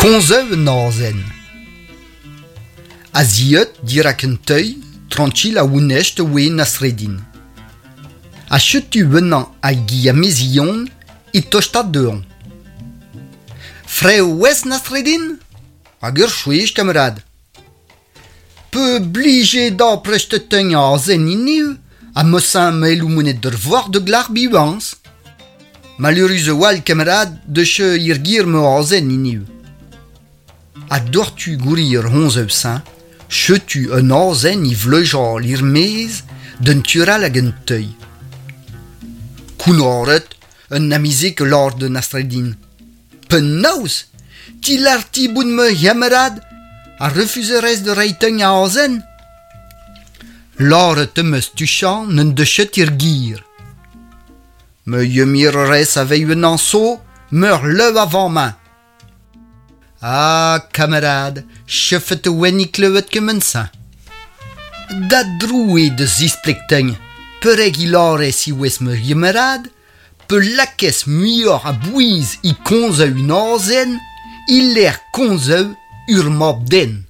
Komzeu un azen. A-ziot dirak un teul, tranquil a ounest oe Nasreddin. Ha setu ennañ hag i amezion e tostaat dezhañ. Frev ouez Nasreddin? Hag ur chwech, kamarad. Pe blije da presteteñ azen hiniv ha mosañ m'hello monet d'ur vor da glask bivañs. Maleürus a-walc'h kamarad deus ir gir ma azen hiniv. Ha doc'htu gouri ur c'honzev-se, setu un azen e vleujañ er-maez d'un tural hag un teul. Kounnaret, un amezeg a lâr da Nasreddin. Penaos Ti lâr-ti bout ma c'hamarad ha refuzerez da reiñ teugn a azen? Lâret em eus tuchant n'en deus ket er gir. Ma yemirerez a vez un anso, meur lev avant-mañ. Ah, kamarad, chefet e oan e klevet kement-se. Da droue da zispleg teugn, perek e lârez ivez ma c'hamarad, pe lakez muioc'h a bouez e komz un azen e-lec'h komz ur mab-den.